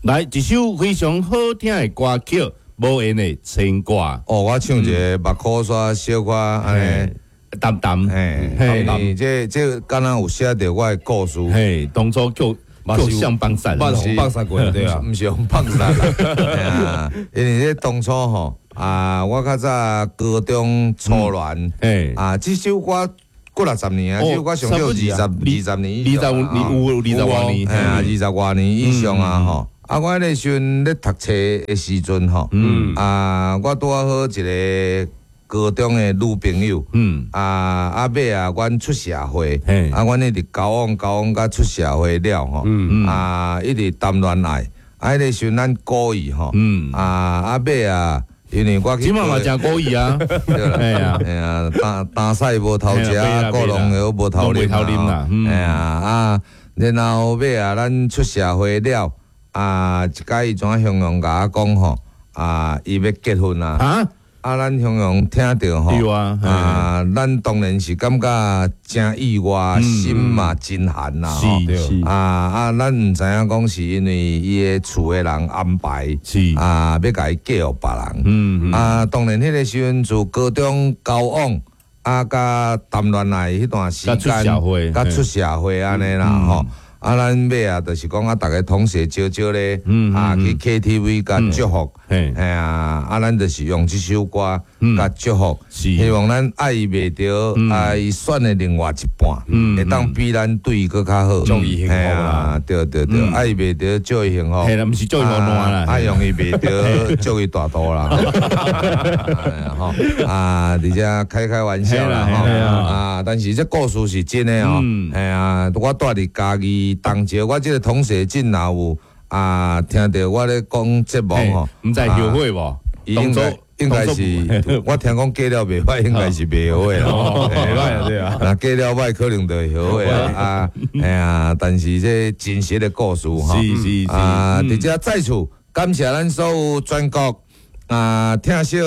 來一首非常好聽的歌曲，無緣的牽掛。哦，我唱一个目箍煞小可按呢，淡淡，嘿，嘿，這敢若有寫著我的故事。嘿，當初叫叫相幫殺，捌予放殺過對啊，毋是予放殺啦，因為這當初吼啊，我較早高中初戀，啊，這首歌幾六十年啊，這首歌上少20年以上，20年有20外年，嘿啊，20外年以上啊吼。啊，我彼个時陣咧讀冊的時陣吼，啊，我拄仔好一个高中的女朋友，啊尾啊，阮出社會，啊，阮一直交往交往甲出社會了吼，啊，一直談戀愛，啊，彼个時陣咱故意吼，啊尾啊，因為我這馬嘛誠故意啊，對啦，嘿啊，擔屎無偷食，顧龍藥無偷啉啦，嘿啊，啊，然後尾啊，咱出社會了，啊，一擺伊怎雄雄共我講吼，啊，伊欲結婚啊。啊，咱雄雄聽著吼，啊，咱當然是感覺誠意外，心嘛真寒啦吼。啊啊，咱毋知影講是因為伊的厝的人安排，啊，欲共伊嫁予別人。啊，當然彼个時陣自高中交往，啊，佮談戀愛彼段時間，佮出社會按呢啦吼。啊，咱尾啊，就是講啊，逐个同學少少咧，啊，去 KTV 共祝福，嘿啊，啊，咱就是用這首歌共祝福，希望咱愛伊袂著，啊，伊選的另外一半，會當比咱對伊閣較好，祝伊幸福啦，對對對，愛伊袂著，祝伊幸福，嘿啦，毋是祝伊好爛啦，啊，用伊袂著，祝伊大肚啦，吼，啊，佇遮開開玩笑啦，吼，啊，但是這故事是真的哦，嘿啊，我蹛佇嘉義。當朝我這个同學真若有啊，聽著我咧講節目吼，毋知後悔無？應該是，我聽講過了袂歹，應該是袂後悔啦。袂歹對啊。若過了歹，可能就會後悔啊。啊，哎呀，但是這真實的故事吼，啊，佇遮再次感謝咱所有全國啊，聽小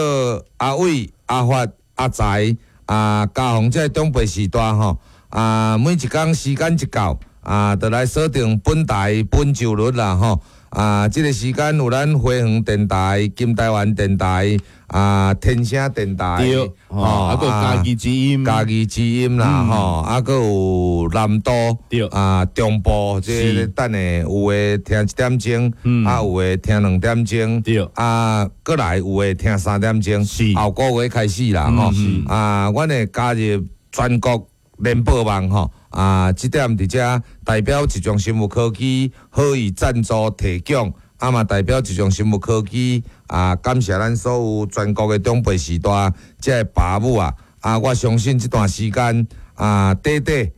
阿偉、阿發、阿財、啊，嘉宏這个長輩時代吼，啊，每一工時間一到，啊，就來鎖定本台本周日啦吼！啊，這个時間有咱花園電台、金台灣電台、啊天聲電台，對，吼，啊，閣嘉義之音、嘉義之音啦，吼，啊，閣有南都，對，啊，中部，這个等下有的聽一點鐘，啊，有的聽2點鐘，啊，閣來有的聽3點鐘，後個月開始啦，吼，啊，阮會加入全國聯播網吼。啊，這點佇遮代表一種生物科技好意贊助提供，啊嘛代表一種生物科技啊，感謝咱所有全國的長輩時代這个爸母啊，啊，我相信這段時間啊，短短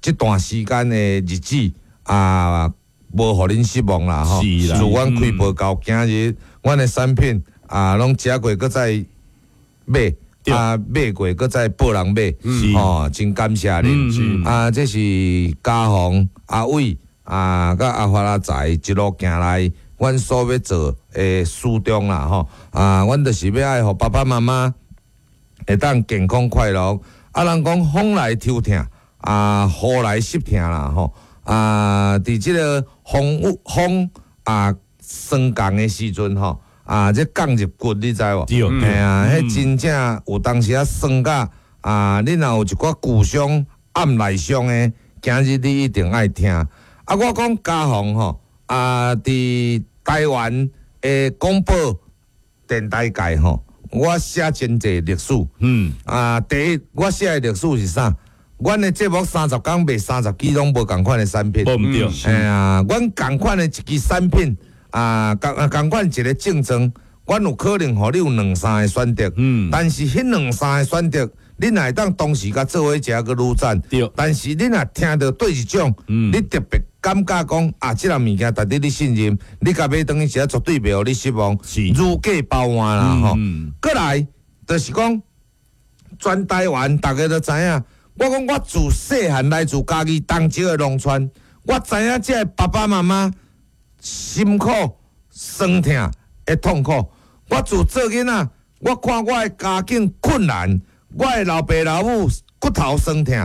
這段時間的日子啊，無予恁失望啦吼。自阮開播到今日，阮的產品啊，攏食過，閣再買。啊，買過，閣再報人買，吼，真感謝恁。啊，這是嘉宏、阿偉、啊，佮阿發、阿財一路行來，阮所欲做的初衷啦，吼。啊，阮就是欲愛予爸爸媽媽會當健康快樂。啊，人講風來抽疼，啊，雨來濕疼啦，吼。啊，佇這个風雨風啊霜降的時陣，吼。啊，這降入骨，你知無？嘿啊，彼真正有當時啊酸甲啊，你若有一寡舊傷、暗內傷的，今日你一定愛聽。啊，我講嘉宏吼，啊，佇台灣的廣播電台界吼，我寫真濟歷史。啊，第一，我寫的歷史是啥？阮的節目30工賣30支攏無仝款的產品。無毋對。嘿啊，阮仝款的一支產品。啊，仝仝款一个症狀，阮有可能予你有兩三個選擇，但是彼兩三個選擇，你若會當同時共做伙食閣愈讚，但是你若聽著對一種，你特別感覺講啊，這个物件值得你信任，你共買轉去食絕對袂予你失望，如假包換啦吼。閣來就是講，全台灣逐家都知影，我講我自細漢來自嘉義東石的農村，我知影這个爸爸媽媽辛苦、酸痛的痛苦。我自做囡仔，我看我的家境困難，我的老爸老母骨頭酸痛，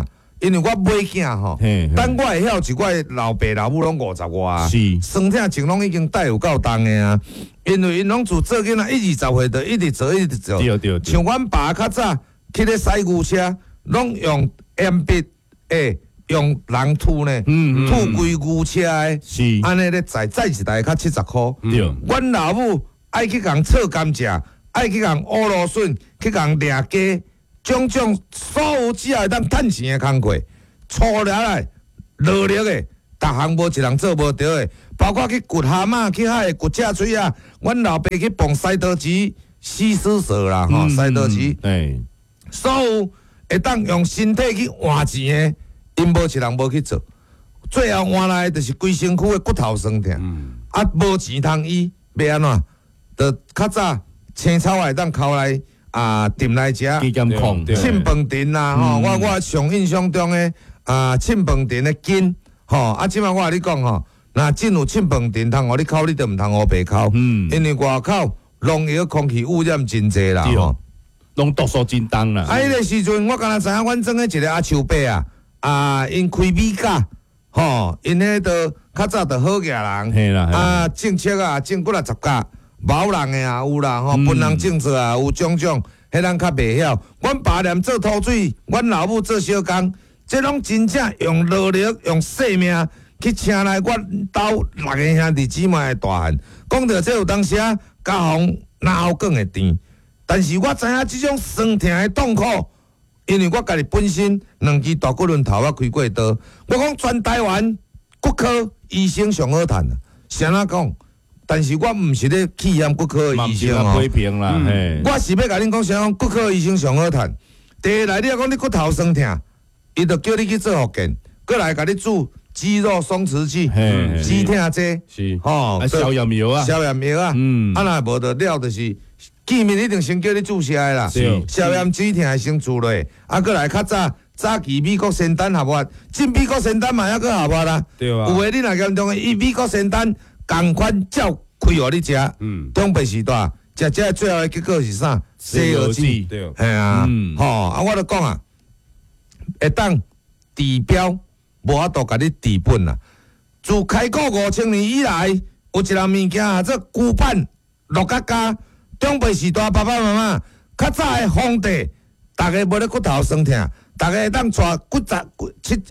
因為我尾囝吼，等我會曉是我的老爸老母攏50外，酸痛症攏已經帶有夠重的啊。因為𪜶攏自做囡仔一二十歲就一直做一直做，像阮爸較早去咧駛牛車，攏用鉛筆用人吐呢，吐規牛車的，按呢咧載載一台較70箍。阮老母愛去共炒甘蔗，愛去共烏蘆筍，去共掠雞，種種所有只要會當趁錢的工課，粗力來勞力的，逐項無一人做無著的，包括去掘蛤蟆、去海掘赤喙仔，阮老爸去磅西多士、死死蛇啦，吼，西多士，所有會當用身體去換錢的，𪜶無一人無去做，最後換來的就是規身軀的骨頭酸痛，啊，無錢通醫，欲按怎？就較早青草會當摳來啊，浸來食，凊飯甜啦，吼！我上印象中的啊，凊飯甜的筋，吼！啊，這擺我共你講吼，若真有凊飯甜通予你摳，你就毋通烏白摳，因為外口農藥空氣污染真濟啦，吼，攏毒素真重啦。啊，彼個時陣我敢若知影，阮庄的一個阿樹伯啊，啊，𪜶開米甲，吼，𪜶彼都較早就好額人，啊，種粟啊，種幾若十甲。毛人的也有啦，吼，分人種作也有種種，彼咱較袂曉。阮爸連做土水，阮老母做小工，這攏真正用勞力、用性命去請來阮兜六个兄弟姊妹的大漢。講著這有當時啊，家防哪有講會甜？但是我知影這種酸痛的痛苦，因為我家己本身兩支大骨輪頭我開過刀，我講全台灣骨科醫生上好趁，啥怎講？但是我毋是咧氣嫌骨科的醫生哦，我是欲共恁講啥？講骨科醫生上好趁。第一來，你若講你骨頭酸痛，伊就叫你去做復健，閣來共你注肌肉鬆弛劑、止痛劑，是吼，消炎藥啊，消炎藥啊，啊若無就了，就是見面一定先叫你注射的啦，消炎止痛先注落，啊，閣來較早早期美國仙丹合法，進美國仙丹嘛猶閣合法啦，有的你若嚴重的，伊美國仙丹。仝款照開予你食，長輩時代食這最後的結果是啥？西藥子，嘿啊，吼啊！我就講啊，會當治標，無法度共你治本啊。自開國5000年以來，有一項物件叫做龜板鹿角膠。長輩時代爸爸媽媽較早的皇帝，逐家無咧骨頭酸痛，逐家會當帶骨十七。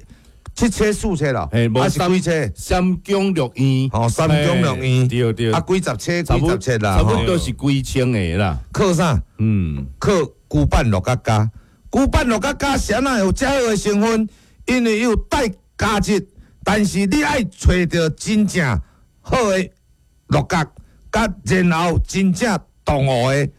七車四車咯，還是幾車？三宮六院，哦，三宮六院，對對，啊，幾十車，幾十車啦，差不多是幾千個啦。靠啥？靠龜板鹿角膠。龜板鹿角膠啥若有遮好的成分？因為有帶膠質，但是你愛揣著真正好的鹿角，佮然後真正動物的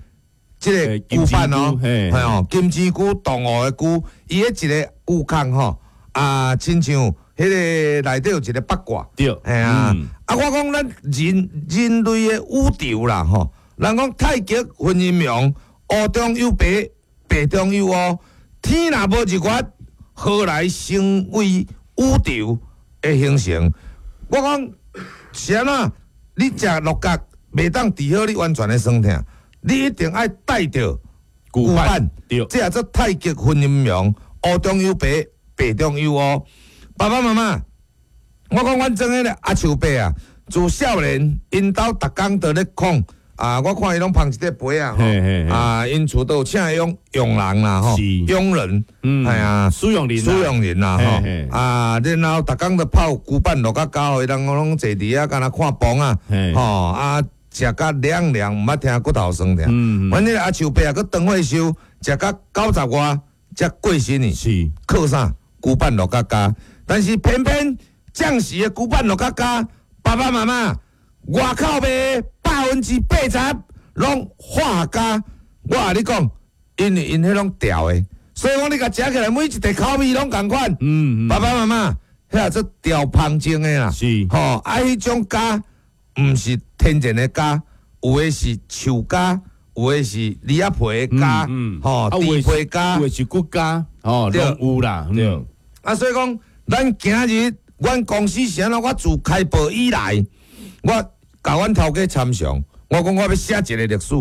這個龜板哦，係哦，金針菇動物的菇，伊彼一个龜殼吼。啊，親像彼个內底有一个八卦，對，嘿啊，啊，我講咱人人類的宇宙啦，吼，人講太極分陰陽，烏中有白，白中有烏，天若無日月，何來成為宇宙的形成？我講是按怎？你食鹿角袂當治好你完全的酸痛，你一定愛帶著龜板，對，這叫做太極分陰陽，烏中有白。白中有烏，爸爸媽媽，我講阮庄彼个阿樹伯啊，自少年𪜶兜逐工都咧控啊，我看伊攏捧一塊杯啊，啊，𪜶厝都有請佣傭人啦，吼，傭人，系啊，使用人，使用人啦，吼，啊，然後逐工都泡龜板鹿角膠，予人攏坐佇遐，敢若看磅啊，吼，啊，食甲涼涼，毋捌聽骨頭酸痛。阮彼个阿樹伯啊，閣當歲壽，食甲90外，才過身去，是靠啥？龜板鹿角膠，但是偏偏將時的龜板鹿角膠，爸爸媽媽外口賣80%攏化膠。我共你講，因為𪜶彼攏調的，所以講你共食起來每一塊口味攏仝款。爸爸媽媽，彼做調芳精的啦，是吼，啊，彼種膠毋是天然的膠，有的是樹膠，有的是梨仔皮的膠，吼，豬皮膠，有的是骨膠，吼，攏有啦，對。啊，所以講，咱今日阮公司是按怎？我自開播以來，我共阮頭家參詳，我講我欲寫一个歷史，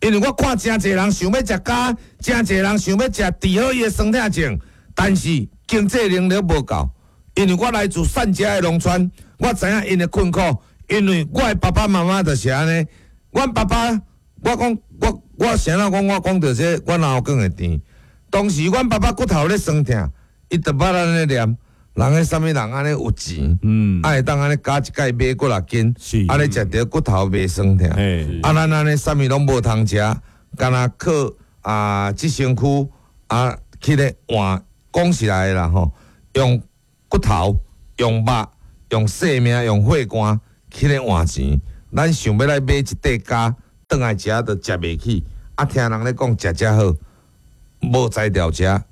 因為我看誠濟人想欲食膠，誠濟人想欲食治好伊的酸痛症，但是經濟能力無夠，因為我來自散遮的農村，我知影𪜶的困苦，因為我的爸爸媽媽就是按呢。阮爸爸，我講我啥人講我講著這個，阮老公會甜。當時阮爸爸骨頭咧酸疼，伊就捌按呢念，人彼啥物人按呢有錢，啊會當按呢加一蓋買幾若斤，按呢食著骨頭袂酸疼。啊，咱按呢啥物攏無通食，干焦靠啊這身軀啊去咧換，講實在的啦吼，用骨頭、用肉、用性命、用血汗去咧換錢。咱想欲來買一塊鉸，轉來食都食袂起。啊，聽人咧講食遮好，無才調食。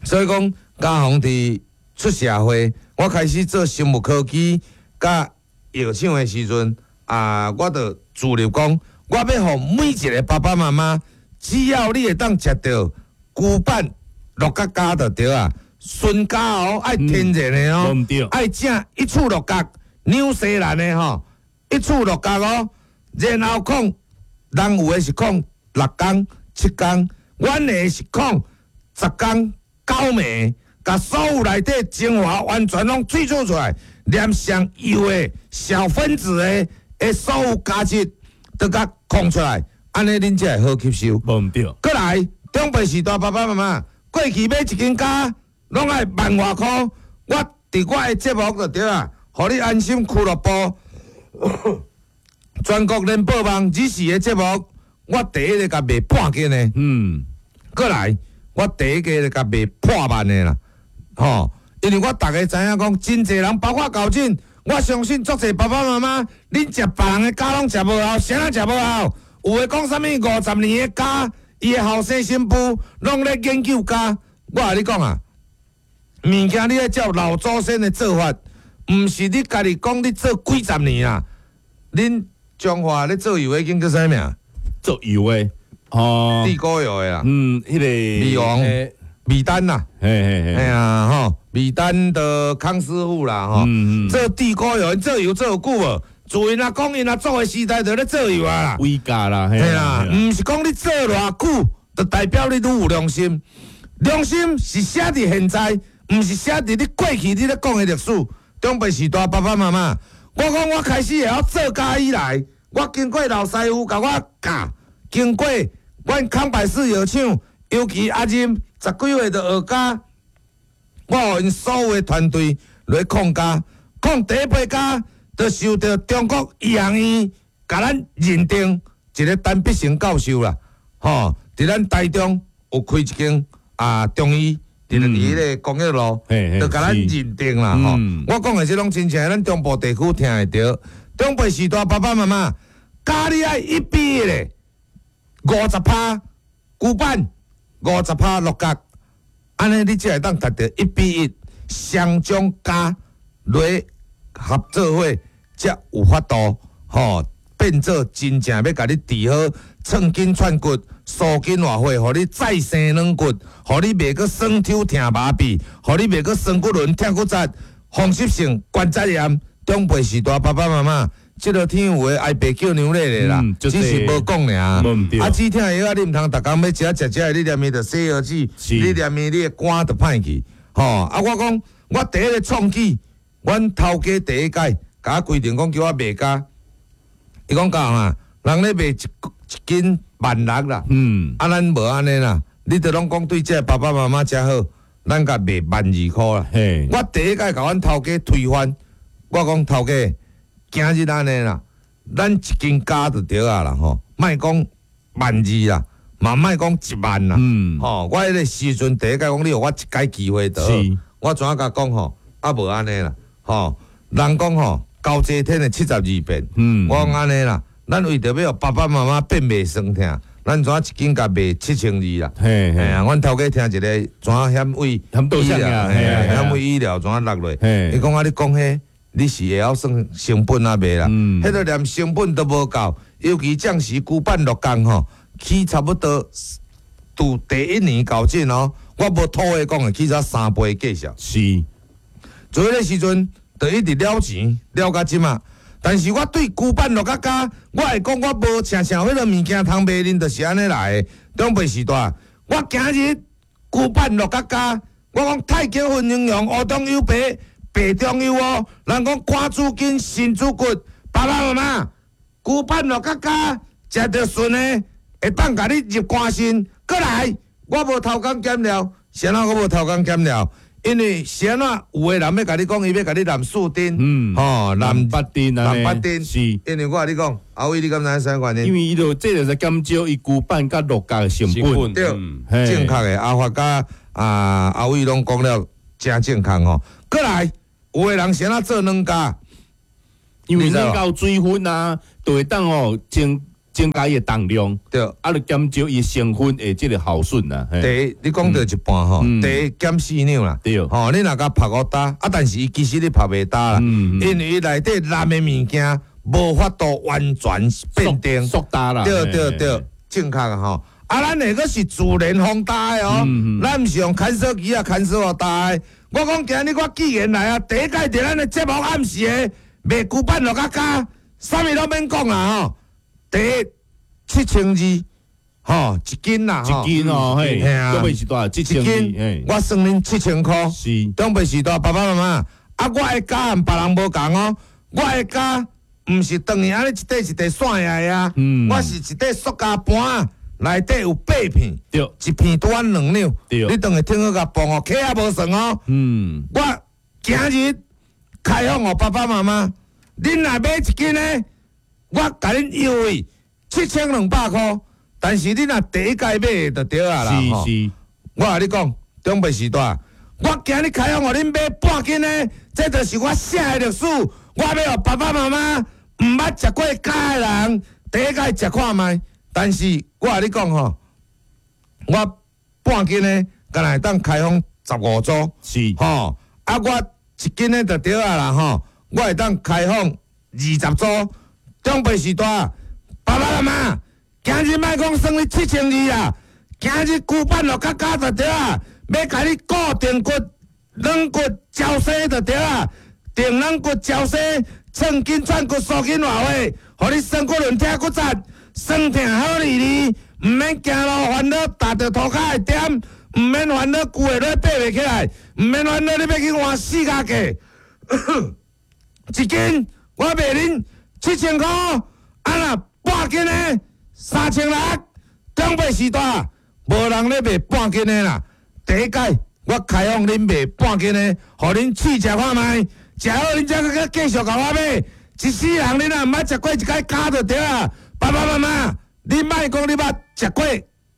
所以講，嘉宏佇出社會，我開始做生物科技佮藥廠的時陣，啊，我就自立講，我欲予每一个爸爸媽媽，只要你會當食著龜板鹿角膠就對啊，純膠哦，愛天然的哦，愛正一處鹿角，紐西蘭的吼，一處鹿角哦，然後控，人有的是控6工、7工，阮的是控10工、9暝，共所有內底精華完全攏萃取出來，連上幼的小分子的所有價值都共控出來，按呢恁才會好吸收。無毋對。過來，長輩時代爸爸媽媽過去買一斤鉸，攏愛萬外箍。我佇我的節目就對啊，予你安心俱樂部，全國聯播網只是的節目，我第一个共賣半斤的。過來，我第一个共賣破萬的啦，吼！因為我逐家知影講，真濟人包括高進，我相信足濟爸爸媽媽，恁食別人的鉸攏食無效，啥人食無效？有的講啥物50年的鉸，伊的後生新婦攏咧研究鉸。我共你講啊，物件你愛照老祖先的做法，毋是你家己講你做幾十年啊。恁彰化咧做油的間叫啥名？做油的哦，地溝油的啦。彼個米王米丹啦，嘿啊吼，米丹的康師傅啦吼，做地溝油，做油做有久無？自𪜶阿公𪜶阿祖的時代就咧做油啊啦，威價啦，嘿啦，毋是講你做偌久，就代表你愈有良心。良心是寫佇現在，毋是寫佇你過去你咧講的歷史。長輩時代爸爸媽媽，我講我開始會曉做鉸以來，我經過老師傅共我教，經過阮康百氏藥廠，尤其阿任十幾歲就學鉸，我予𪜶所有的團隊來控鉸，控第一批鉸，就受著中國醫學院共咱認定一個陳必成教授啦，吼，佇咱台中有開一間啊中醫，佇彼个工業路，就共咱認定啦，吼。我講的這攏真正咱中部地區聽會著。長輩時代爸爸媽媽鉸你愛1比1的，50%龜板，50%鹿角，按呢你才會當達著1比1，雙種鉸來合做伙，才有法度吼變做真正欲共你治好寸筋寸骨、舒筋活血，予你再生軟骨，予你袂閣酸抽疼麻痹，予你袂閣酸骨輪疼骨折、風濕性關節炎。長輩時代爸爸媽媽，這个天有的哀爸叫娘咧咧啦，只是無講爾。啊，止疼藥啊，你毋通逐工欲食食食，你連伊就洗腰子，你連伊你的肝就歹去。吼，啊，我講我第一个創舉，阮頭家第一擺共我規定講叫我賣鉸，伊講幹啊，人咧賣一斤1.6萬啦，啊，咱無按呢啦，你著攏講對這爸爸媽媽遮好，咱共賣1.2萬箍啦。我第一擺共阮頭家推翻，我講頭家，今日按呢啦，咱一斤鉸就對啊啦吼，莫講1.2萬啦，嘛莫講1萬啦，吼，我彼个時陣第一擺講你予我一擺機會就好，我怎共講吼，啊無按呢啦，吼，人講吼，交齊天的72變，我講按呢啦，咱為著欲予爸爸媽媽變袂酸疼，咱怎一斤共賣7200啦？嘿啊，阮頭家聽一个怎險位醫療，險位醫療怎落落？伊講啊，你講彼，你是會曉算成本啊袂啦？彼个連成本都無夠，尤其將時龜板鹿角吼，起差不多，拄第一年搞進哦，我無吐話講的，起才3倍價數。是，做彼个時陣，就一直了錢，了到這馬。但是我對龜板鹿角鉸，我會講我無像彼个物件通賣，恁就是按呢來的。長輩時代，我今日龜板鹿角鉸，我講太極分形容烏中有白，白中有烏。人講肝主筋，腎主骨，爸爸媽媽，龜板落較加，食著順的，會當共你入肝腎。閣來，我無偷工減料，啥物我無偷工減料？因為啥物有的人欲共你講，伊欲共你攬四丁，吼，攬八丁啊，攬八丁，是。因為我共你講，阿偉你敢知影啥原因？因為伊就這就是減少伊龜板佮鹿角的成本，對，正確的。阿發佮阿偉攏講了誠正確吼。閣來，有的人啥物做軟膠？因為軟膠水分啊，就會當哦增加伊的重量，對，啊，就減少伊成分的這個耗損啦。第一，你講著一半吼，第一減四兩啦，對，吼，你若共曝予焦，啊，但是伊其實你曝袂焦啦，因為伊內底藍的物件無法度完全變定，速焦啦，對對對，正確的吼。啊，咱那個是自然風焦的哦，咱毋是用牽手機啊牽手予焦的。我講今日我既然來啊，第一擺佇咱的節目暗時的賣龜板鹿角膠，啥物攏免講啦吼。第一7200，吼一斤啦，一斤哦，嘿，長輩時代7200，我算恁7000箍，是長輩時代爸爸媽媽，啊，我的膠和別人無仝哦，我的膠毋是轉去按呢一塊一塊散下的啊，我是一塊塑膠盤，內底有八片，對，一片拄仔2兩，對，你轉去稱好共磅哦，克也無算哦，我今日開放予爸爸媽媽，恁若買一斤呢？我共恁優惠7200箍，但是你若第一擺買就對啊啦。是是，我共你講，長輩時代，我今日開放予恁買半斤的，這就是我寫的歷史。我欲予爸爸媽媽毋捌食過膠的人，第一擺食看覓。但是我共你講吼，我半斤的，敢若會當開放15組，是吼。啊，我一斤的就對啊啦吼，我會當開放20組。長輩時代，爸爸媽媽，今日莫講算你7200啦，今日龜板鹿角膠就對啊，欲共你固定骨、軟骨招生就對啊，定軟骨招生，寸筋寸骨酥筋活血，予你酸骨軟痛骨節，酸痛好利利，毋免行路煩惱，踏著塗跤會點，毋免煩惱舊的落爬袂起來，毋免煩惱你欲去換四跤架，一斤我賣恁7000箍，啊若半斤的3600，長輩時代無人咧賣半斤的啦。第一擺我開放恁賣半斤的，予恁試食看覓，食好恁才閣繼續共我買。一世人恁若毋捌食過一擺膠就對啊。爸爸媽媽，你莫講你捌食過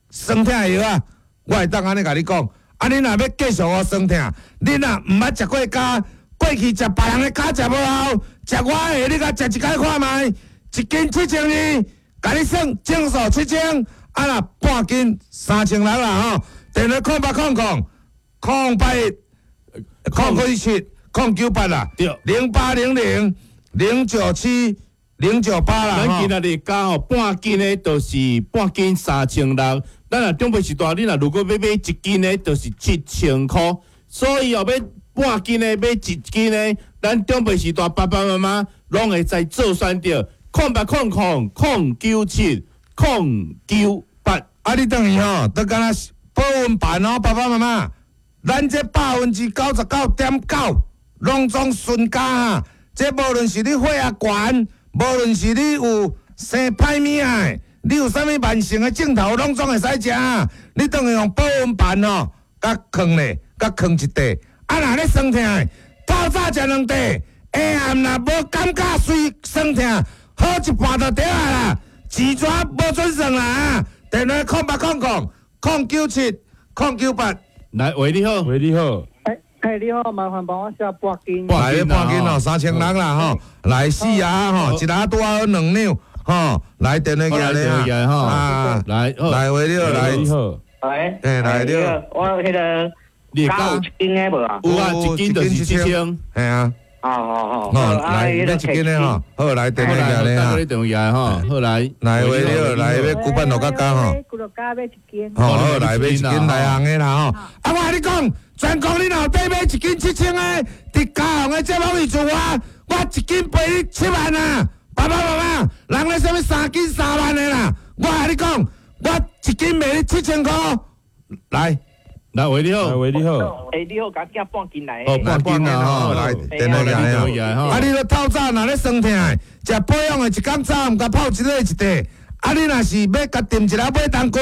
酸痛的藥啊，我會當按呢共你講。啊，恁若欲繼續予酸痛，恁若毋捌食過膠，過去食別人的膠食無效，食我的你共食一擺看覓，一斤7200，共你算整數7000，啊若半斤3600啦吼。電話0800 081 097 098啦，0800 097 098啦。咱今仔日膠吼，半斤的，就是半斤3600。咱若長輩時代，你若如果欲買一斤的，就是7000箍。所以哦，欲半斤的買一斤的，咱長輩時代爸爸媽媽攏會使做選擇。0800 097 098。啊，你轉去吼，都敢若保溫盤哦，爸爸媽媽，咱這99.9%攏總純膠啊！這無論是你血壓懸，無論是你有生歹物仔，你有啥物慢性的症頭，攏總會使食。你轉去用保溫盤吼，共囥咧，共囥一塊。啊，若咧酸痛的，透早食兩塊，下暗若無感覺隨酸痛，好一半就對啊啦。錢紙無準算啦。電話0800 097 098。來，喂，你好，喂，你好。欸，你好，麻煩幫我寫半斤。來，半斤哦，3600啦吼。來四盒吼，一盒拄好2兩吼。來電話寄來吼。啊，來，來，喂，你好，來。你好。喂。欸，來，你好。我彼个膠有一斤的無啊？有啊，一斤就是7000。嘿啊。哦哦哦，來，欲一斤的吼，好，來電話寄來啊。電話寄來吼，好來。來，喂，你好，來，欲龜板鹿角膠吼。龜鹿角欲一斤。好，好，來欲一斤來紅的啦吼。啊，我共你講，全國你若有綴買一斤7000的，佇嘉宏的節目裡做我，我一斤賠你7萬啊！爸爸媽媽，人咧啥物3斤3萬的啦？我共你講，我一斤賣你7000箍。來，來，喂，你好。喂，你好。欸，你好，共寄半斤來。哦，半斤啊，來，電話來啊。啊，你咧透早若咧酸疼，食保養的一工早暗共泡一个一塊。啊，你若是欲共炖一下買筒骨，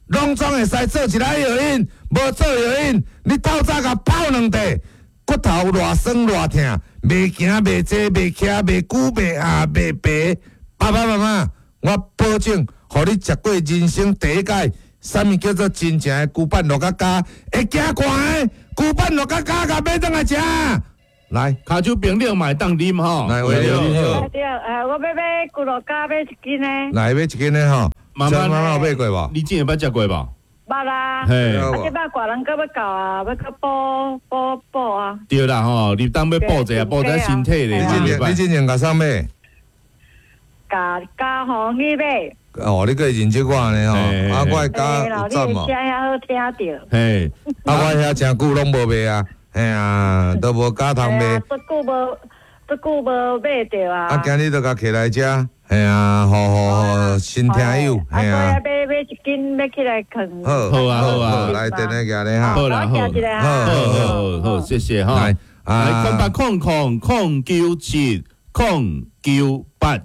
攏總會使做一下藥引，無做藥引，你透早共泡兩塊，骨頭偌酸偌疼，袂行袂坐袂徛袂久袂下袂白。爸爸媽媽，我保證，予你食過人生第一擺。啥物叫做真正的牛板落甲膠？會驚寒的牛板落甲膠，共買轉來食。來，跤手冰冷嘛會當啉吼。來，喂，你好。對，我欲買牛肉膠買一斤呢。來，買一斤的吼。媽媽，媽媽有買過無？你之前捌食過無？捌啦。嘿。啊，這擺大人閣欲到啊，欲閣補補補啊。對啦吼，入冬欲補者，補者身體咧。你之前共啥買？共加紅你買。哦，你閣會認識我呢吼？啊，我的跤有讚無？你聲遐好聽著。嘿，啊，我遐誠久攏無賣啊，嘿啊，都無跤通賣。足久無，足久無買著啊。啊，今日就共揢來遮，嘿啊，予予予新聽友，嘿啊。買買一斤，欲起來囥。好，好啊，好啊，來，電話寄咧哈。好啦，好，好，好，好，謝謝哈。來，0800 000 097 098。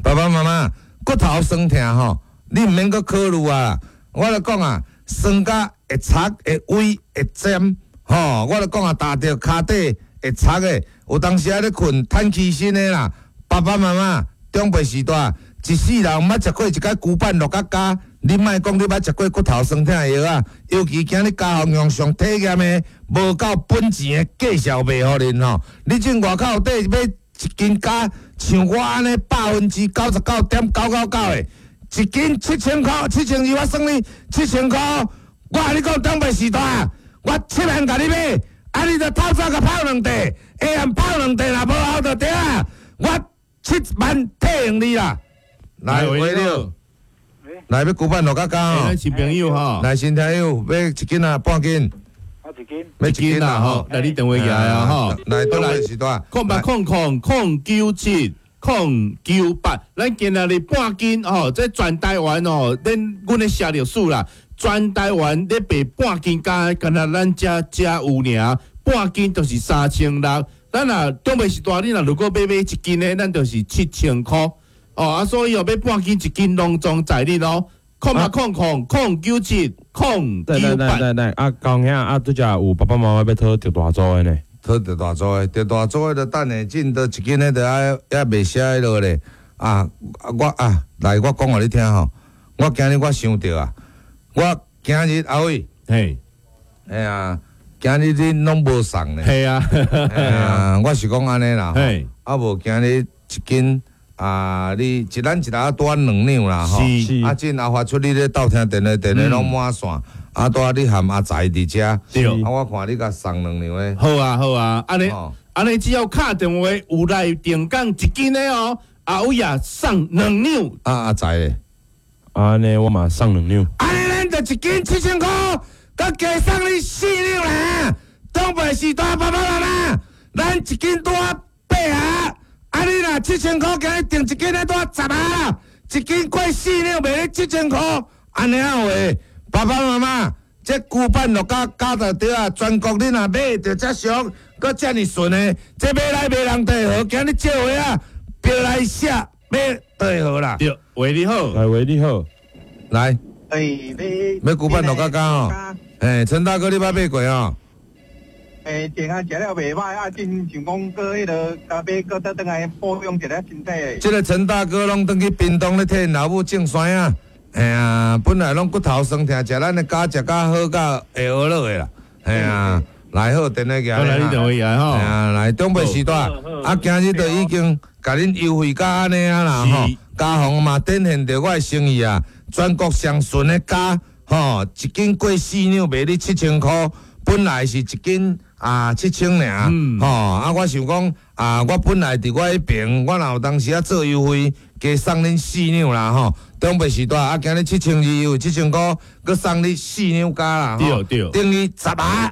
爸爸媽媽。骨頭酸疼吼，你毋免閣考慮啊！我咧講啊，酸甲會插會歪會尖吼，我咧講啊，踏著跤底會插的，有當時仔咧睏趁起身的啦。爸爸媽媽長輩時代，一世人毋捌食過一擺牛板落甲膠，你莫講你捌食過骨頭酸疼的藥啊，尤其今日家方用上體驗的，無夠本錢的介紹賣予恁吼。你進外口底買一斤膠，像我按呢99.999%的，一斤7000箍，7200，我算你7000箍。我共你講，長輩時代，我7萬共你買，啊，你就透早共泡兩塊，下暗泡兩塊，若無效就對啊，我7萬退還你啦。來，喂，你好，來欲牛板落甲膠哦。咱新朋友吼，來新朋友買一斤啊，半斤。一斤，買一斤啦吼，來你電話寄來啊吼，來長輩時代，0800 000 097 098，咱今仔日半斤吼，這全台灣哦，恁阮咧寫歷史啦，全台灣咧賣半斤膠，敢若咱遮遮有爾，半斤就是3600。咱若長輩時代，你若如果欲買一斤的，咱就是7000箍。哦啊，所以哦，買半斤一斤攏總在你咯。0800 000 097 098。對對對，啊，高兄啊，拄才有爸爸媽媽欲討著大組的呢。討著大組的，著大組的就等下進到一斤的，就愛猶袂寫彼落咧。啊，我啊，來，我講予你聽吼。我今日我想著啊，我今日阿偉，嘿，哎呀，今日你攏無送咧。係啊，啊，我是講按呢啦。嘿，啊無今日一斤。啊！你一咱一下拄2兩啦吼，啊，這阿發出你咧鬥聽電話，電話攏滿線，啊，拄仔你含阿財佇遮，啊，我看你共送2兩的。好啊，好啊，按呢，按呢只要敲電話有來電講一斤的哦，阿偉啊送2兩。啊，阿財咧，按呢我嘛送2兩。按呢咱就一斤7000箍，閣加送你4兩啦。長輩時代爸爸媽媽，咱一斤拄仔8盒。啊！你若7000箍，今日訂一斤咧，拄仔10盒，一斤過4兩，賣你7000箍，按呢有話？爸爸媽媽，這牛板落甲膠就對啊！全國你若買著遮俗，閣遮爾順的，這買來袂人綴號，今日借話啊，標來寫買綴號啦。對，喂，你好，來，喂，你好，來，欸，買牛板落甲膠哦。欸，陳大哥，你捌買過哦？欸，前下食了袂歹，啊，真想講閣彼落，共買閣倒轉來保養一下身體。這个陳大哥攏轉去屏東咧替𪜶老母種山仔，嘿啊，本來攏骨頭酸疼，食咱的膠食甲好甲會學落的啦，嘿啊，來好電話寄來，來你電話寄來吼，嘿啊，來長輩時代，啊，今日就已經共恁優惠甲按呢啊啦吼，家訪嘛展現著我的誠意啊，全國上純的膠吼，一斤過4兩賣你7000箍，本來是一斤。啊，7000爾，吼！啊，我想講，啊，我本來佇我彼爿，我若有當時仔做優惠，加送恁4兩啦，吼。長輩時代啊，今日7200有7000箍，閣送你4兩膠啦，對對，等於10盒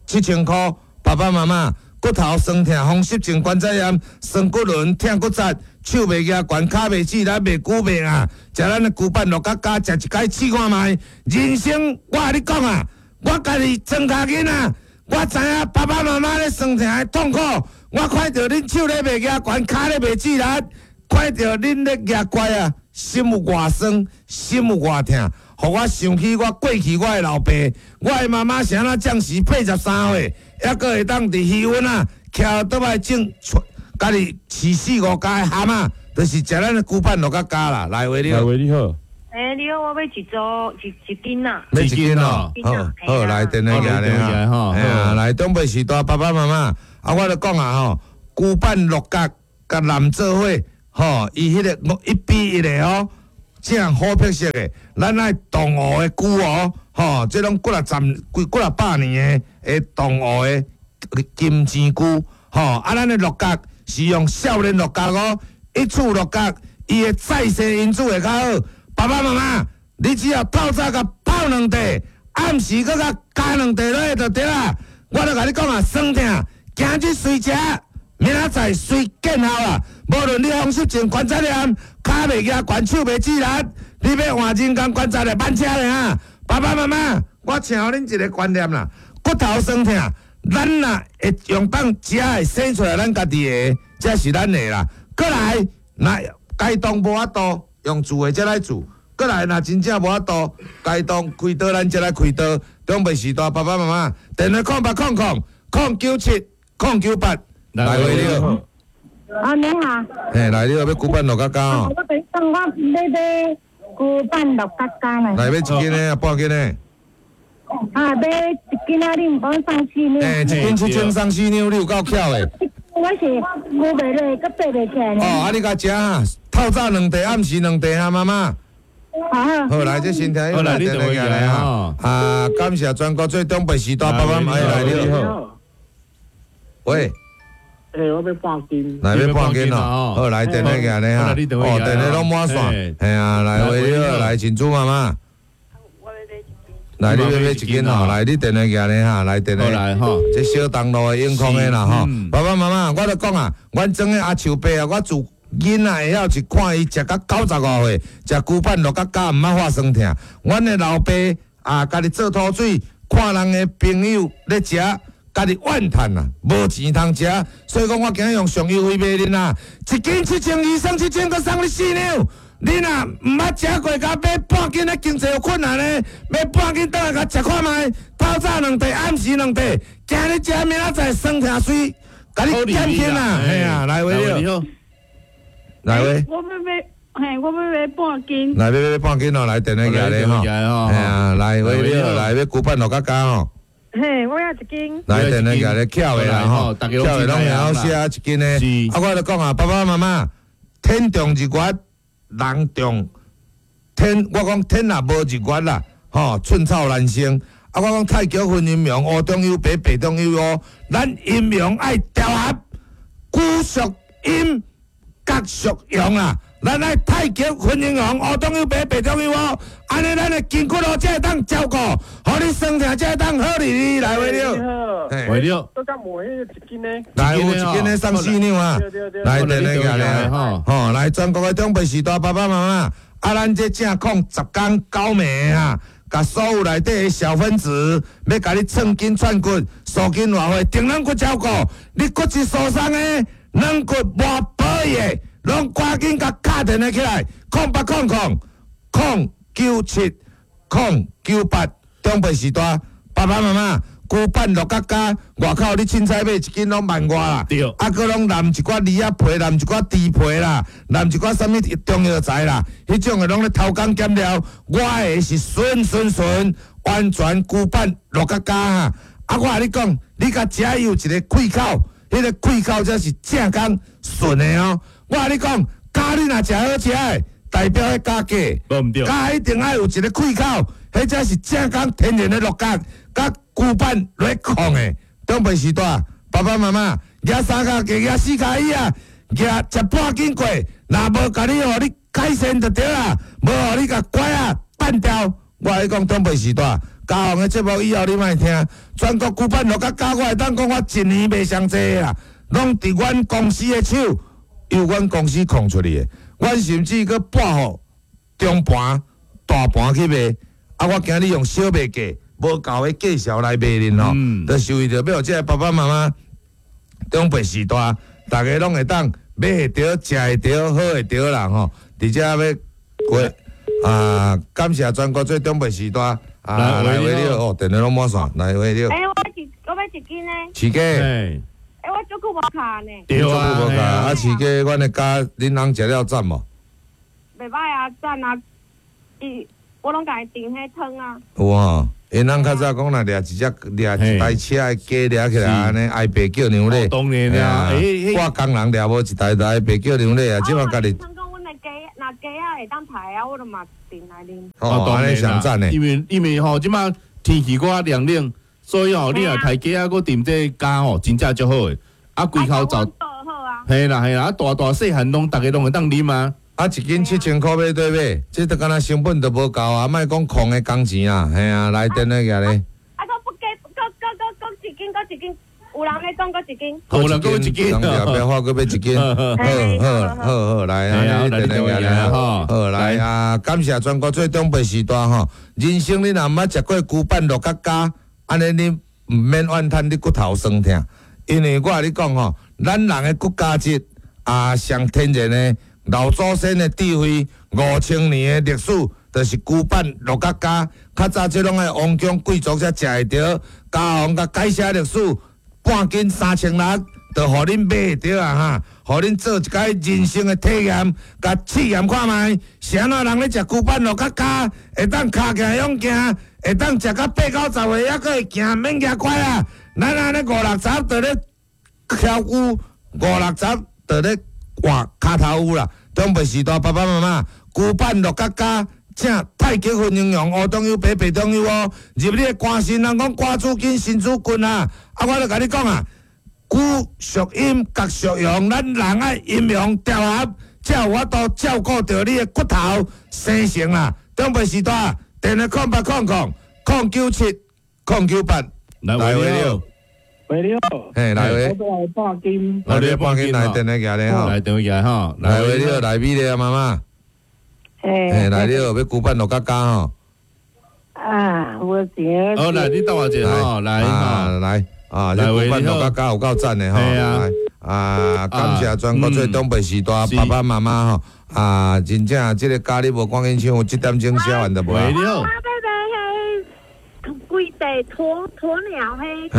7000箍。爸爸媽媽骨頭酸痛、風濕性關節炎、酸骨輪、疼骨節、手袂舉懸、跤袂直，咱袂久袂啊，食咱的牛板落甲膠，食一擺試看覓。人生，我共你講啊，我家己庄跤囡仔，我知影爸爸妈妈咧酸疼的痛苦，我看著恁手咧袂举悬，跤咧袂志力，看著恁咧举拐啊，心有偌酸，心有偌疼，予我想起我過去我的老爸，我的媽媽是按怎將時83歲，猶閣會當佇魚塭啊，騎倒來種，家己飼四五家的蚶仔，就是食咱的龜板鹿角膠啦，來話你來話你好。欸，你好，我欲一組一一斤啊。欲一斤哦，好，好，來電話寄來吼，嘿啊，來長輩時代爸爸媽媽，啊，我就講啊吼，龜板鹿角佮南做伙，吼，伊彼个1比1的哦，正好特色的，咱愛東湖的龜哦，吼，這攏幾若十幾幾若百年的的東湖的金錢龜，吼，啊，咱的鹿角是用少年鹿角哦，一處鹿角，伊的再生因子會較好。爸爸媽媽，你只要透早共泡兩塊，暗時閣共加兩塊落去就對啦。我就共你講啊，酸疼，今日隨食，明仔載隨見效啦。無論你風濕症、關節炎、跤袂舉懸、手袂志力，你欲換人工關節的慢車爾。爸爸媽媽，我請予恁一個觀念啦，骨頭酸疼，咱若會用當食會生出來，咱家己的，這是咱的啦。過來，若該當無法度。用煮的才來煮，過來若真正無法度，該當開刀咱才來開刀。長輩時代爸爸媽媽，電話0800 000 097 098，來話你好。啊，你好。嘿，來你好，欲龜板鹿角膠哦。我等等，我欲買龜板鹿角膠呢。來欲一斤的，半斤的。啊，欲一斤啊！你毋講送四兩。嘿，一斤7000送四兩，你有夠巧的。我是龜袂落，閣爬袂起來。哦，啊，你共食啊？透早兩塊，暗時兩塊啊，媽媽。好。好，來，這先聽，好來，你電話來啊。啊，感謝全國最長輩時代爸爸媽媽來，你好。喂。欸，我欲半斤。來欲半斤哦。好，來電話來咧哈。哦，電話攏滿線。嘿啊，來喂，你好，來珍珠媽媽。來，你欲買一斤吼？來，你電話寄來哈，來電話。來吼，這小東路的永康的啦吼。爸爸媽媽，我咧講啊，阮庄的阿樹伯啊，我自囡仔會曉是看伊食到95歲，食龜板鹿角膠毋捌發酸疼。阮的老爸啊，家己做土水，看人的朋友咧食，家己怨嘆啊，無錢通食，所以講我今日用上優惠賣恁啊，一斤7200，送7000，閣送你四兩。你若毋捌食過，共買半斤的經濟有困難的，買半斤轉來共食看覓，透早兩塊，暗時兩塊，今日食，明仔載酸疼水，共你減輕啊！嘿啊，來話你好，來話。我欲買，嘿，我欲買半斤。來欲買半斤哦，來電話寄來吼。嘿啊，來話你好，來欲龜板鹿角膠吼。嘿，我欲一斤。來電話寄來巧的啦吼，巧的攏會曉寫一斤的。啊，我就講啊，爸爸媽媽，天長日月。人重天，我講天若無日月啦，吼，寸草難生。啊，我講太極分陰陽，烏中有白，白中有烏。咱陰陽愛調和，龜屬陰，角屬陽啊。咱愛太極分陰陽，烏中有白，白中有烏。按呢，咱的筋骨路才會當照顧，予你酸疼才會當好哩哩。來，話了，話了。都敢買一斤呢？來，有一斤的送四兩啊！來，電話寄來吼，來全國的長輩時代爸爸媽媽，啊，咱這正控10工九暝啊，共所有內底的小分子，欲共你寸筋串骨、鎖筋活血、定軟骨照顧，你骨質疏鬆的、軟骨無保的，攏趕緊共敲電話起來，0800 097 098，長輩時代爸爸媽媽。龜板鹿角膠，外口你凊彩買一斤攏萬外啦，啊，閣攏淋一寡梨仔皮，淋一寡豬皮啦，淋一寡啥物中藥材啦，彼種的攏咧偷工減料。我的是純純純，完全龜板鹿角膠哈。啊，我共你講，你共食有一個開口，彼個開口才是正宗純的哦。我共你講，膠你若食好食的，代表彼膠假，膠一定愛有一個開口，彼才是正宗天然的鹿角。佮龜板來控的，長輩時代，爸爸媽媽舉三跤架，舉四跤椅啊，舉食半斤過，若無共你予你改善就對啦，無予你共拐啊扳掉。我共你講，長輩時代，家訪的節目以後你莫聽，全國龜板鹿角膠，我會當講我一年賣上濟啦，攏佇阮公司的手，由阮公司控出去的，阮甚至閣撥予中盤、大盤去賣，啊，我今日用小賣價。無夠的介紹來賣恁吼，就是為著欲予這个爸爸媽媽長輩序大，逐家攏會當買會著、食會著、好會著啦吼。佇遮欲過啊，感謝全國做長輩序大啊，來喂你哦，電話攏滿線，來喂你。欸，我欲一斤呢。飼雞。欸，我足久無敲呢。對啊，無敲啊，飼雞，阮的雞恁翁食了讚無？袂歹啊，讚啊！伊我攏共伊炖彼湯啊。有吼，𪜶翁較早講若掠一隻掠一台車的雞掠起來，按呢哀爸叫娘咧。當然啦，我工人掠無一台就哀爸叫娘咧啊，這馬家己。聽講阮的雞，若雞仔會當刣啊，我就嘛炖來啉。哦，按呢上讚的。因為吼，這馬天氣閣較涼冷，所以吼，你若刣雞仔閣炖這雞吼，真正足好的。啊，規口罩。嘿啦嘿啦，啊大大細漢攏逐家攏會當啉啊。啊，一斤7000箍買對買，這都敢若成本都無夠啊！莫講空的工錢啊，嘿啊，來電話寄咧。啊，閣不加，閣閣閣閣一斤，閣一斤，有人咧講閣一斤。有人閣一斤，人掠變化閣買一斤。好好好好，來啊，你電話寄來吼。好來啊，感謝全國做長輩序大吼。人生你若毋捌食過龜板鹿角膠，按呢你毋免怨嘆你骨頭酸疼，因為我共你講吼，咱人的骨膠質啊，上天然的。老祖先的智慧，5000年的歷史，就是龜板鹿角膠。較早這攏愛王宮貴族才食會著，家王共改寫歷史，半斤3600，就予恁買會著啊哈！予恁做一擺人生的體驗，共試驗看覓，啥物人咧食龜板鹿角膠，會當跤行勇行，會當食到八九十歲，猶閣會行，免舉拐啊！咱按呢五六十就咧翘龜，五六十就咧換跤頭趺啦，長輩序大爸爸媽媽，龜板鹿角膠，請太極拳營養，烏中有白，白中有烏。入你的肝腎，人講肝主筋，腎主骨啊。啊，我就共你講啊，龜屬陰，角屬陽，咱人愛陰陽調和，才有法度照顧著你的骨頭生成啦。長輩序大，電話0800 097 098，來喂了。喂，你好。嘿，來喂。我欲來半斤。來你半斤來電話寄咧吼。來電話寄吼。來喂，你好，來美麗啊，媽媽。嘿，來你好，欲龜板鹿角膠吼。啊，無錢。好，來你等我一下吼，來啊，來啊，這龜板鹿角膠有夠讚的吼。來啊，感謝全國做長輩序大爸爸媽媽吼。啊，真正這個咖你無趕緊搶，這點鐘寫完就無啊。喂，你好。規地鴕鳥彼，嘿，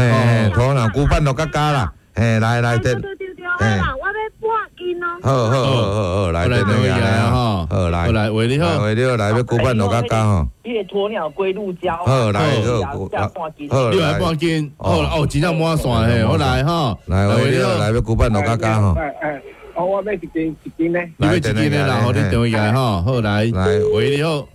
鴕鳥龜板鹿角膠啦，嘿，來來對，對對對，我欲半斤哦。好好好好好，來來來吼，好來來喂你好，喂你好，來欲龜板鹿角膠吼。彼个鴕鳥龜鹿膠，好來好，半斤，好你來半斤，好哦，真正滿線嘿，好來吼，來喂你好，來欲龜板鹿角膠吼。哎，哦，我欲一斤一斤咧，你欲一斤咧啦，好，你電話來吼，好來，來喂你好，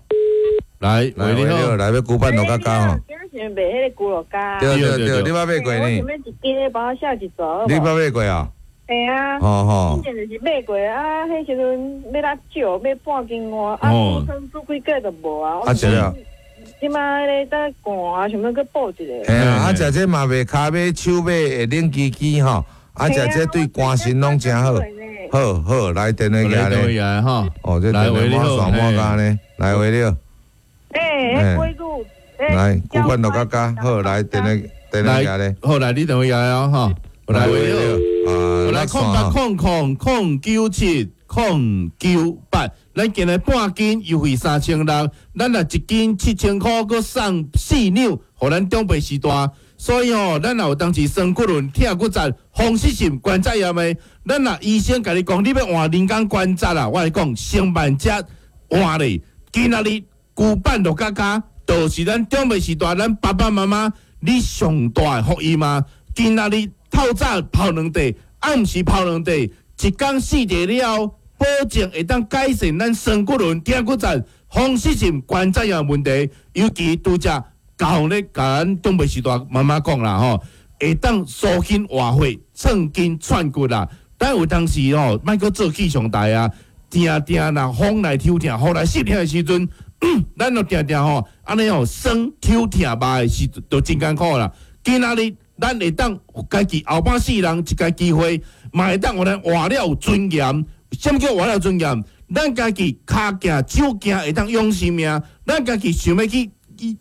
來喂你好，來欲龜板鹿角膠吼。想賣彼个龜鹿膠。對對對，你捌買過呢？我想欲一斤，幫我寫一組。你捌買過啊？嘿啊。吼吼。以前就是買過啊，彼時陣欲來借買半斤外，啊，煮湯煮幾個就無啊。啊，食了。這擺咧在寒啊，想欲閣補一个。嘿啊，啊，食這嘛袂跤尾手尾會冷吱吱吼，啊，食這對肝腎攏誠好。好好，來電話寄咧。吼。哦，這電話滿線滿加呢，來喂你好。欸，龜鹿。來，龜板鹿角膠，好來電話電話寄咧。好來，你電話寄哦，吼。來喂你好。來0800 097 098，咱今日半斤優惠3600，咱若一斤7000箍，閣送4兩，予咱長輩序大。所以吼，咱若有當時酸骨輪、疼骨節、風濕性關節炎的，咱若醫生共你講，你欲換人工關節啦，我來講，先慢才換咧。今仔日龜板鹿角膠，就是咱長輩序大，咱爸爸媽媽你上大的福音嘛。今仔日透早泡兩塊，暗時泡兩塊，一工四塊了後，保證會當改善咱酸骨輪、疼骨節、風濕性關節炎問題。尤其拄才教咧，共咱長輩序大媽媽講啦吼，會當舒筋活血、創筋串骨啦。但有當時吼，莫閣做氣象台啊，定定若風來抽疼，雨來濕疼的時陣，咱就定定吼，按呢吼酸抽疼肉的時陣就真艱苦啦。今仔日咱會當家己後半世人一个機會，嘛會當予咱活了有尊嚴。啥物叫活了有尊嚴？咱家己跤行手行會當養生命，咱家己想欲去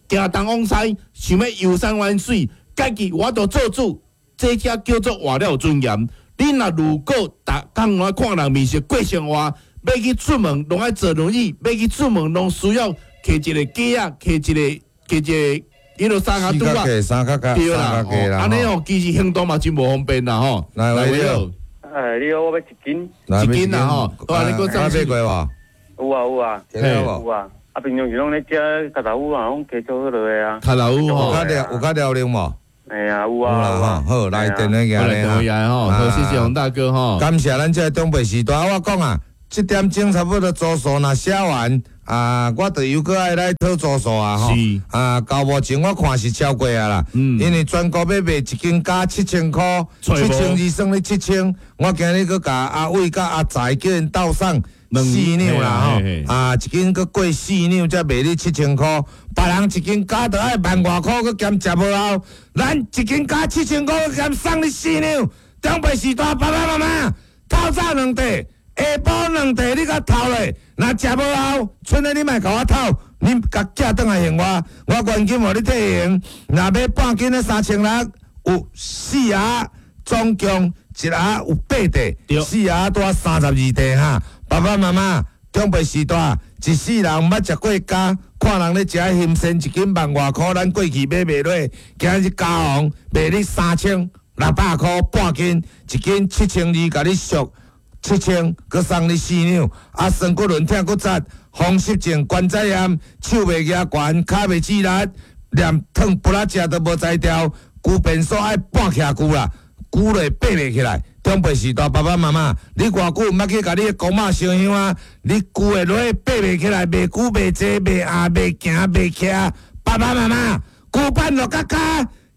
行東往西，想欲遊山玩水，家己我都做主，這才叫做活了有尊嚴。你若如果逐工攏愛看人面色過生活，欲去出門攏愛坐輪椅，欲去出門攏需要提一個架仔，提一個彼落三跤拄仔，三跤架，對啦，按呢哦，其實行動嘛真無方便啦吼。來，你好，你好，我欲一斤，一斤啦吼，你閣買過無？有啊有啊，有啊。啊，平常時攏咧食卡豆腐啊，攏加做彼落的啊。卡豆腐吼，有較遼寧無？哎呀，有啊，有啦，好，來電話來吼，好，謝謝洪大哥吼。感謝咱這個長輩時代，我講啊，這點鐘差不多周數若寫完啊，我就又閣愛來討周數啊吼。啊，到目前我看是超過啊啦，因為全國欲賣一斤加7000箍，7200算你七千，我今日閣共阿偉佮阿財叫𪜶鬥送四兩啦吼，啊，一斤閣過四兩才賣你七千箍，別人一斤加著愛萬外箍，閣兼食無後，咱一斤加七千箍，閣兼送你四兩。長輩時代爸爸媽媽透早兩塊，下晡兩塊，你共透咧，若食無後，賰咧你莫共我透，你共寄轉來還我，我原金予你退還。若買半斤的3600，有四盒，總共一盒有八塊，四盒拄32塊哈。爸爸媽媽，長輩時代，一世人毋捌食過蝦，看人咧食鹹鮮一斤萬外箍，咱過去買袂落。今日嘉宏賣你3600箍半斤，一斤7200，共你俗七千，閣送你四兩。啊，酸骨輪疼骨折，風濕症、關節炎，手袂舉懸，跤袂直力，連燙不拉食都無才調，龜便所愛半徛龜啦，龜咧爬袂起來。長輩時代，爸爸媽媽，你偌久毋捌去共你的公媽燒香啊？你龜會落爬袂起來，袂龜袂坐，袂壓，袂行，袂徛。爸爸媽媽，龜板落甲跤，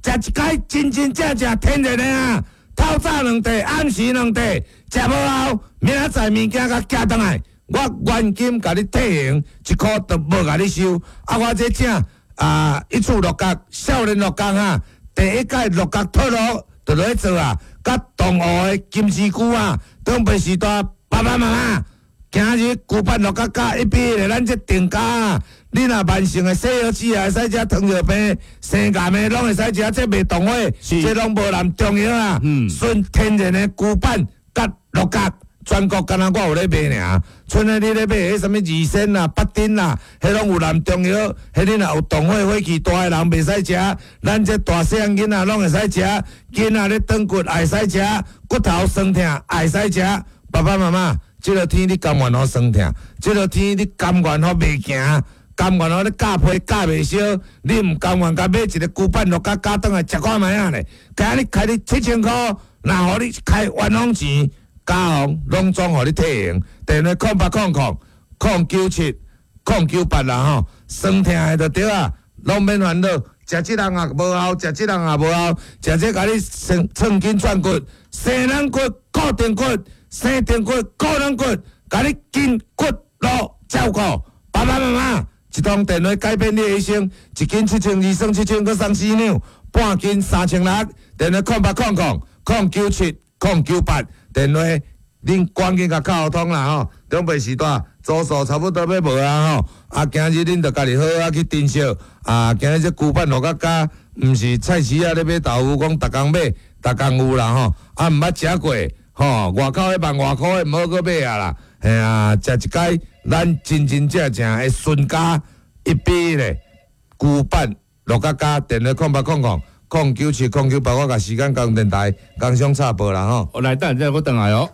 食一擺真真正正天然的啊！透早兩塊，暗時兩塊，食無後，明仔載物件共寄轉來，我原金共你退還，一箍都無共你收。啊，我這正啊，一處鹿角，少年鹿角哈，第一屆鹿角脫落就落去做啊。佮東湖的金絲菇啊，長輩時代爸爸媽媽，今日龜板鹿角加一比一，咱這定價啊，你若慢性的西藥子也會使食糖尿病、生癌的攏會使食，這袂動火，這攏無含中藥啊，純天然的龜板佮鹿角。全國敢若我有咧賣爾，賰咧你咧買彼啥物二仙啦、八珍啦，彼攏有含中藥，彼你若有動火火氣大的人袂使食，咱這大細漢囡仔攏會使食，囡仔咧斷骨也會使食，骨頭酸痛也會使食。爸爸媽媽，這個天你甘願予酸痛，這個天你甘願予袂行，甘願予你咬皮咬袂燒，你毋甘願共買一个龜板鹿角咬轉來食看覓仔咧？今日開你七千箍，若予你開冤枉錢。嘉宏攏總予你退還，電話0800 097 098啦吼，酸痛的就對啊，攏免煩惱，食這人也無效，食這人也無效，食這共你生創筋轉骨，生軟骨固定骨，生定骨固軟骨，共你筋骨路照顧，爸爸媽媽一通電話改變你的一生，一斤7200算七千，閣送四兩，半斤3600，電話0800 097 098。電話，恁趕緊共敲通啦吼！長輩時代，周數差不多欲無啊吼！啊，今日恁著家己好好去珍惜啊！今日這龜板鹿角膠，毋是菜市仔咧買豆腐，講逐工買，逐工有啦吼！啊，毋捌食過吼，外口彼萬外箍的毋好閣買啊啦！嘿啊，食一擺咱真真正正的純膠一比咧，龜板鹿角膠，電話0800 097 098，我共時間交電台工商插播啦吼！來，等下再閣轉來哦。